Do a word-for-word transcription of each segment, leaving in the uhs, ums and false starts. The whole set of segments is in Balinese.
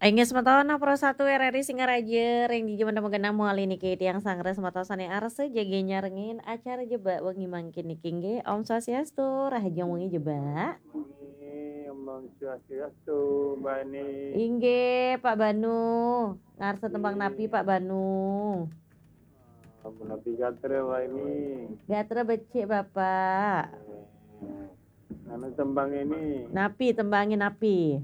Inggih semeton, Pro Satu R R I Singaraja, ring dija magenah malih niki tiang sanggra semeton sane arsa jaga nyarengin acara Jebak wengi mangkin niki inggih. Om Swastiastu, rahajeng wengi Jebak. Inggih, Om Swastiastu, Mbak Eni. Inggih, Pak Banu. Ngarsa tembang napi, Pak Banu? Ah, punapi gatra, Mbak Eni? Gatra becik, Bapak. Inggih. Anu tembang ini. Napi tembange napi?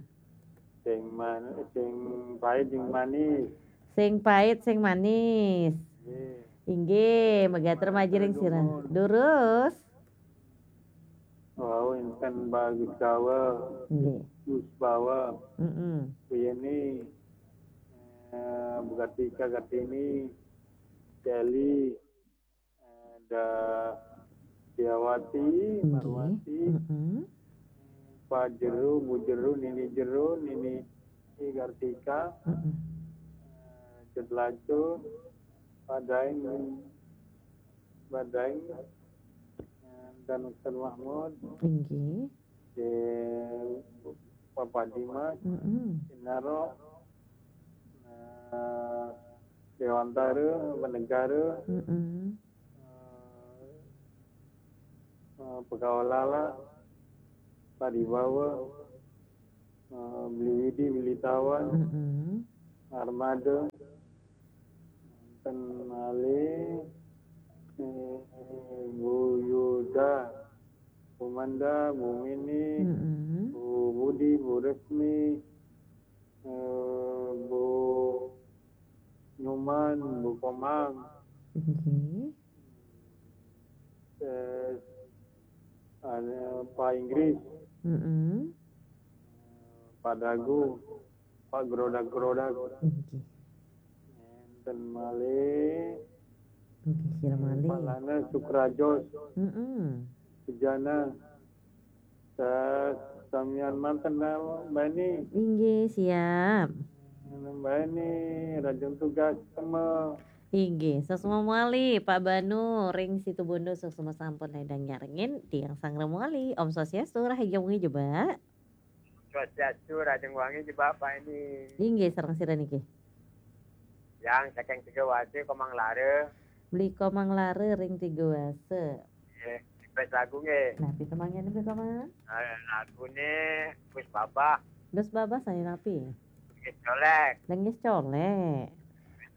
Sing man-, sing pait, sing manis. Sing pait, sing manis. Nggih. Inggih, magatra majiring sira. Dumun. Durus. Wau, inten Bagus Gawa. Nggih. Gus Bawa. Mm-mm. Buyeni, eh, Bu Kartika Kartini, Celi, ada Diawati, Nggih. Marwati, Mm-mm. Pak Jeru, Bu Jeru, Nini Jeru, Nini Kartika, Mm-mm. eh, Cut Lacu, Pak Daeng, Pak Daeng, eh, dan Ustaz Mahmud, Nggih. Di Bapak Dimas, Mm-mm. Sinaro, eh, Dewantara, Benegara, Mm-mm. eh, eh, Pegawai Lala, Paribawa, eh, Beli Widi, Beli Tawan, Mm-mm. Armada, ten malih, eh, Bu Yuda, Bu Manda, Bu Mini, Mm-mm. Bu Budi, Bu Resmi, eh, Bu Nyoman, Bu Komang. Nggih. Eh, ada Pak Inggris. Mm-mm. Pak Dagu, Pak Grodak-Grodak. Nggih. Enten malih. Nggih, sira malih. Pak Lana Sukrajos. Mm-mm. Sujana. Sa-, samian manten, Mbak Eni. Inggih, siap. Mbak Eni, rajin tugas, sema. Inggih, sesama malih, Pak Banu, ring Situbondo, sesama sampun ledang nyarengin, tiang sanggra malih. Om Swastiastu, rahajeng wengi Jebak. Swastiastu, rahajeng wengi Jebak, Pak Eni. Inggih, sareng sira niki? Yang saking Tiga Wasa, Komang Lara. Beli Komang Lara ring Tiga Wasa. Nggih, request lagu nggih. Napi tembange Beli Komang? Eh, lagune Gus Babah. Gus Babah sane napi? Lenggis Colek. Lenggis Colek.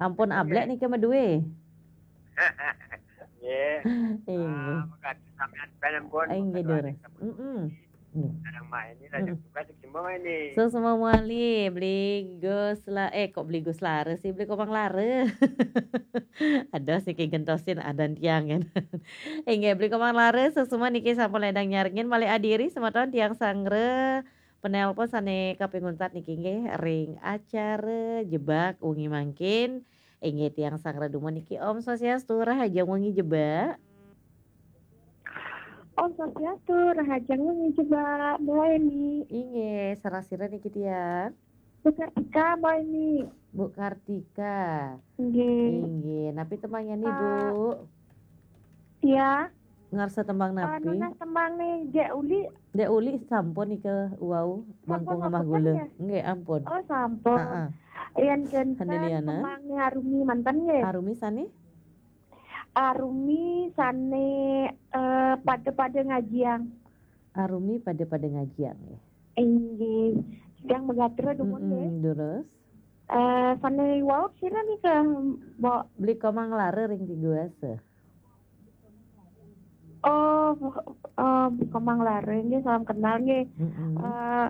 Ampun ablek niki madue. Nggih. Inggih. Ah, makasih sampean, sampean pun. Inggih, Dur. Mm-mm. Nggih. Kadang main ini, rajin Mm-mm. Tugas, sing semua ini. Sesama malih, Beli Gus La-, eh, kok Beli Gus Lara sih, Beli Komang Lara. Aduh, siki gentosin adan tiang, kan. Inggih, Beli Komang Lara, sesama niki sampun ledang nyarengin, malih adiri, semeton tiang sanggra, penelpon sane kaping untat niki, nggih, ring acara Jebak wengi mangkin. Inggih, tiang sanggra dumun niki, Om Swastiastu, rahajeng wengi Jebak. Om Swastiastu, rahajeng wengi Jebak, Mbak Eni. Inggih, sareng sira niki tiang? Bu Kartika, Mbak Eni. Bu Kartika. Inggih. Inggih, napi tembange ni, eh, Bu? Ya. Ngarsa tembang eh, napi? Nunas tembang ni, Dek Uli. Dek Uli sampun nika wau, sampun, bangkung amah gula. Ya? Nggih, ampun. Oh, sampun. Heeh. Yen kenten Handeliana? Tembang ni Arumi manten nggih. Arumi sane? Arumi sane, eh, pada-pada ngajiang. Arumi pada-pada ngajiang, nggih. Inggih. Sedang magatra dumun, mm-mm, nggih. Durus. Eh, sane wau sira nika, Mbok? Beli Komang Lara ring Tiga Wasa. Oh, eh, Komang Lara nggih, salam kenal nggih. Mm-mm. Eh,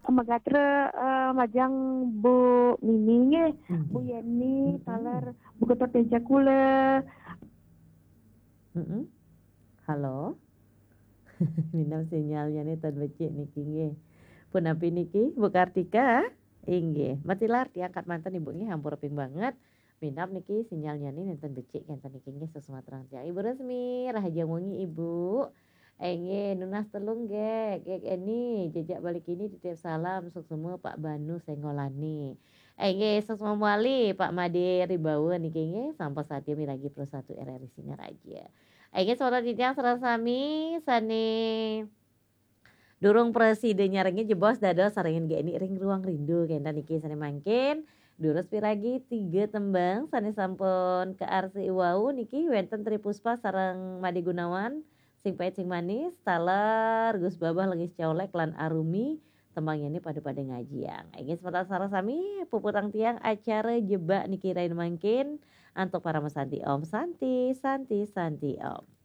magatra, eh, majeng Bu Mini nggih, inggih. Bu Yeni, mm-mm, taler Bu Ketut Teja kula. Mm-mm. Halo. Minab sinyalnyane tan becik niki nggih. Punapi niki, Bu Kartika? Inggih. Matilar tiang angkat manten Ibu nggih, ampura ping banget. Minab niki sinyalnyane nenten becik kenten niki nggih, sesumatran tiang. Ibu Resmi, rahajeng wengi Ibu. Inggih, nunas telung nggih, nggih Eni, jejak balik ini titip salam, suksma Pak Banu Senggolane. Inggih, suksma malih Pak Made Ribawa niki nggih, sampun satia miragi Pro Satu R R I Singaraja. Inggih, saudara titiang sareng sami sane Durung prasida nyarengin jebos dados sarengin Geni ring Ruang Rindu kenten niki sane mangkin. Durus piragi tiga tembang sane sampun kaarsi wau niki wenten Tri Puspa sareng Made Gunawan, Sing Pait Sing Manis, taler Gus Babah Lengis Colek lan Arumi, tembangnyane Pada-pada Ngajiang. Inggih semeton sareng sami puputang tiang acara jebak niki rain mangkin antuk parama santi Om Santi, Santi, Santi Om.